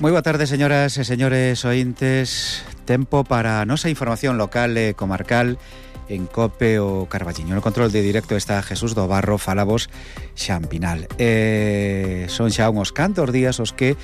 Moi boa tarde, señoras e señores ointes. Tempo para a nosa información local e comarcal en COPE o Carballiño. No control de directo está Jesús do Barro, falabos Xampinal. Son xa uns cantos días os que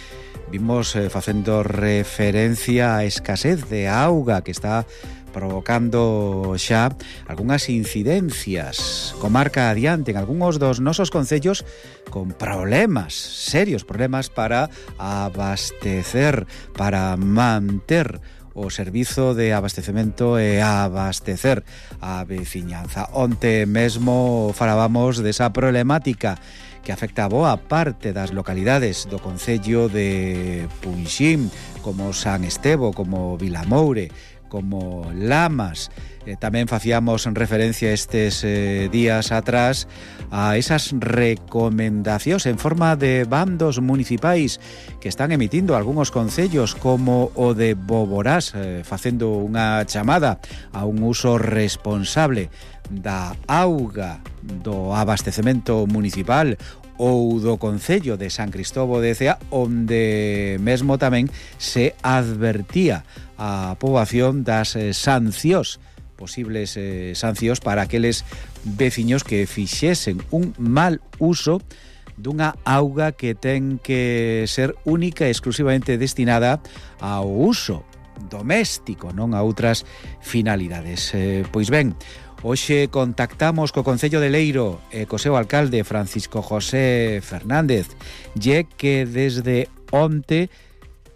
vimos facendo referencia á escasez de auga que está provocando xa algunhas incidencias comarca adiante en algúns dos nosos concellos con problemas, serios problemas para abastecer, para manter o servizo de abastecemento e abastecer a veciñanza. Onte mesmo falábamos desa problemática que afecta a boa parte das localidades do concello de Punxín, como San Estevo, como Vilamoure, como Lamas. Tamén facíamos referencia estes días atrás a esas recomendacións en forma de bandos municipais que están emitindo algúns concellos como o de Boborás, facendo unha chamada a un uso responsable da auga do abastecemento municipal, ou do concello de San Cristóbal de Cea, onde mesmo tamén se advertía a poboación das sancións, posibles sancións para aqueles veciños que fixesen un mal uso dunha auga que ten que ser única e exclusivamente destinada ao uso doméstico, non a outras finalidades. Pois ben, hoxe contactamos co Concello de Leiro e co seu alcalde Francisco José Fernández, e que desde onte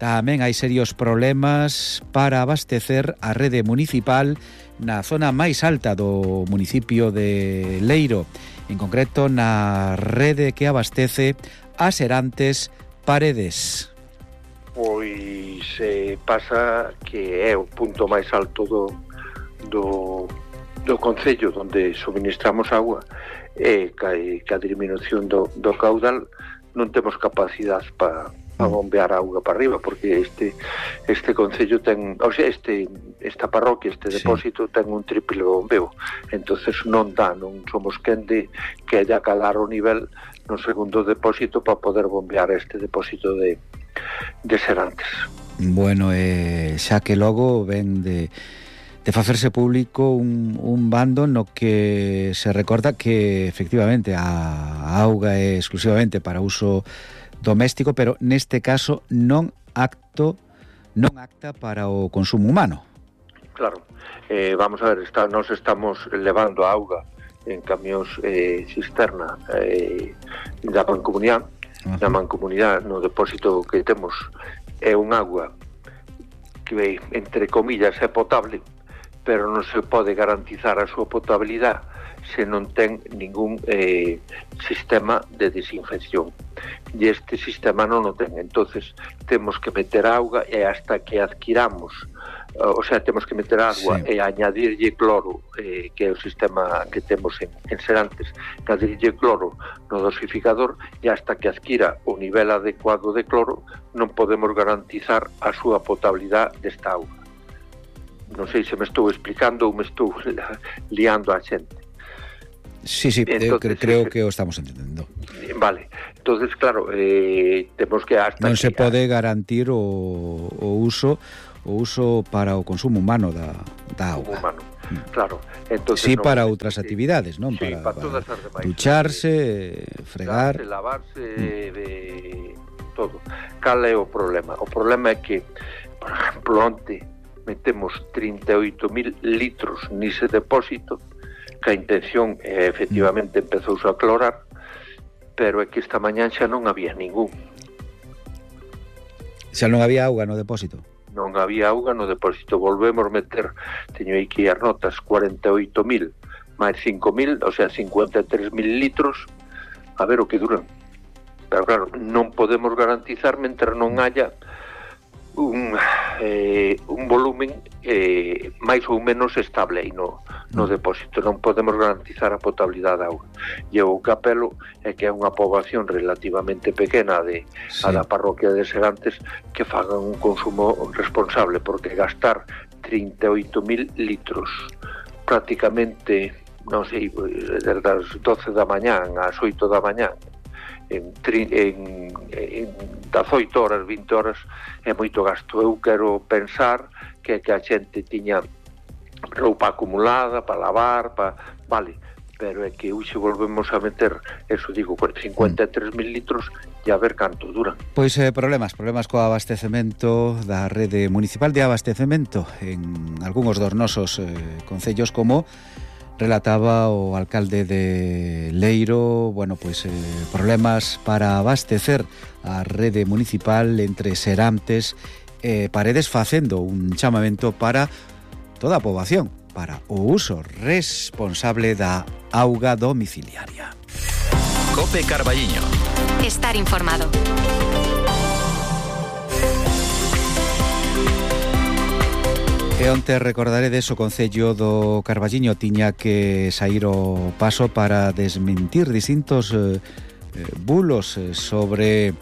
tamén hai serios problemas para abastecer a rede municipal na zona máis alta do municipio de Leiro, en concreto na rede que abastece a Serantes Paredes. Pois pasa que é o punto máis alto do concello onde suministramos agua, e que a disminución do caudal non temos capacidade para bombear auga para arriba, porque este concello ten, o sea, esta parroquia, depósito ten un triple bombeo, entonces non somos quen de que haya calar o nivel no segundo depósito para poder bombear este depósito de Serantes. Bueno, xa que logo ven de facerse público un bando no que se recorda que efectivamente a auga é exclusivamente para uso doméstico, pero neste caso non acta para o consumo humano. Claro, vamos a ver, nós estamos levando a auga en camións cisterna da Mancomunidade. Na Mancomunidade, no depósito que temos, é un agua que, entre comillas, é potable, pero non se pode garantizar a súa potabilidade se non ten ningún sistema de desinfección, e este sistema non o ten. Entonces temos que meter auga, e hasta que adquiramos, o sea, temos que meter agua, sí, e añadirlle cloro, que é o sistema que temos en Serantes, añadirlle cloro no dosificador, e hasta que adquira o nivel adecuado de cloro non podemos garantizar a súa potabilidade desta auga. Non sei se me estou explicando ou me estou liando a xente. Sí, entonces, creo que o estamos entendendo. Vale, entonces claro, temos que hasta non se pode garantir o uso para o consumo humano da auga. Humano, claro. Entonces, sí, no, para outras actividades, non? Sí, para todas as demais. Ducharse, fregar, lavarse, todo. Cal é o problema? O problema é que, por exemplo, onte metemos 38.000 litros nese depósito, que a intención efectivamente empezouse a clorar, pero é que esta mañán xa non había ningún. Xa non había auga no depósito? Non había auga no depósito. Volvemos meter, teño aquí as notas, 48.000 máis 5.000, o sea, 53.000 litros, a ver o que duran. Pero claro, non podemos garantizar mentre non haya un volumen máis ou menos estable aí no depósito. Non podemos garantizar a potabilidade da auga, e o que apelo é que é unha poboación relativamente pequena a da parroquia de Serantes que fagan un consumo responsable, porque gastar 38.000 litros prácticamente, non sei, desde as 12 da mañán ás 8 da mañán en 18 horas, 20 horas é moito gasto. Eu quero pensar que a xente tiña roupa acumulada para lavar, vale, pero é que hoxe volvemos a meter, eso digo, 53.000 litros e a ver canto duran. Pois problemas co abastecemento da rede municipal de abastecemento en algúns dos nosos concellos, como relataba o alcalde de Leiro. Bueno, pois problemas para abastecer a rede municipal entre Serantes e Paredes, facendo un chamamento para toda a poboación para o uso responsable da auga domiciliaria. COPE Carballiño. Estar informado. E onte recordaredes o Concello do Carballiño tiña que saír o paso para desmentir distintos bulos sobre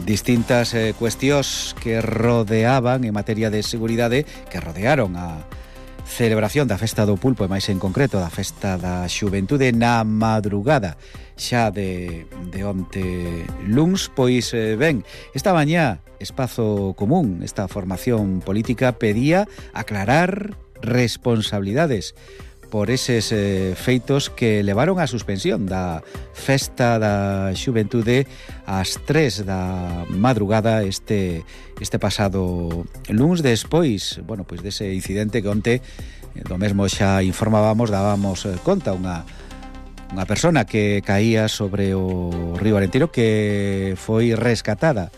distintas cuestións que rodeaban en materia de seguridade, que rodearon a celebración da Festa do Pulpo, e máis en concreto da Festa da Xuventude na madrugada xa de onte luns. Pois ben, esta mañá Espazo Común, esta formación política, pedía aclarar responsabilidades por eses feitos que levaron á suspensión da Festa da Xuventude ás 3 da madrugada este pasado luns, despois, dese incidente que onte do mesmo xa informábamos, dábamos conta, unha persona que caía sobre o río Arenteiro, que foi rescatada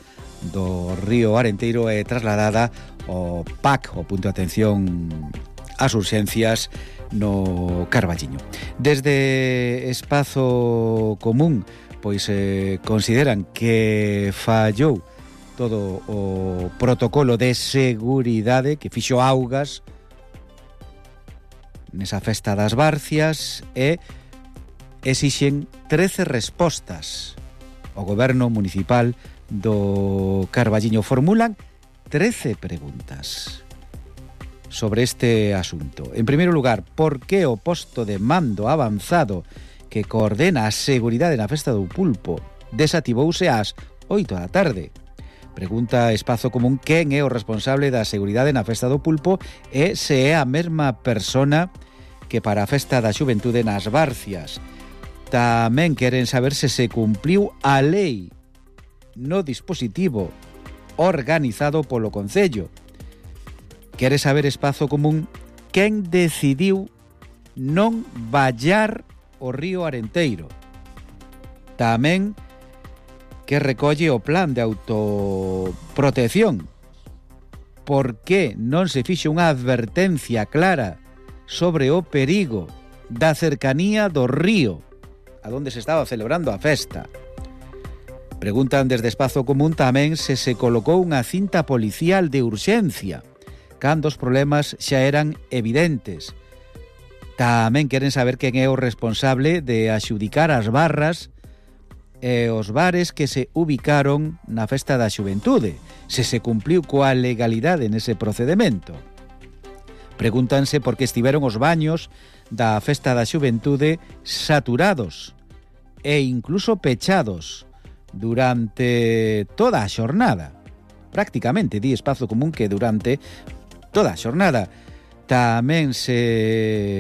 do río Arenteiro e trasladada ao PAC, o punto de atención ás urxencias no Carballiño. Desde Espazo Común consideran que fallou todo o protocolo de seguridade que fixo augas nesa Festa das Barcias e exixen 13 respostas ao goberno municipal do Carballiño. Formulan 13 preguntas sobre este asunto. En primeiro lugar, por que o posto de mando avanzado que coordena a seguridade na Festa do Pulpo desactivouse ás 8 da tarde? Pregunta Espazo Común quen é o responsable da seguridade na Festa do Pulpo e se é a mesma persona que para a Festa da Xuventude nas Barcias. Tamén queren saber se cumpliu a lei no dispositivo organizado polo Concello. Quere saber Espazo Común quen decidiu non vallar o río Arenteiro. Tamén que recolle o plan de autoprotección. Por que non se fixo unha advertencia clara sobre o perigo da cercanía do río a donde se estaba celebrando a festa? Preguntan desde Espazo Común tamén se colocou unha cinta policial de urxencia cando os problemas xa eran evidentes. Tamén queren saber quen é o responsable de adxudicar as barras e os bares que se ubicaron na Festa da Xuventude, se cumpliu coa legalidade nese procedemento. Pregúntanse por que estiveron os baños da Festa da Xuventude saturados e incluso pechados durante toda a xornada. Prácticamente, di Espazo Común, que durante toda a xornada. Tamén se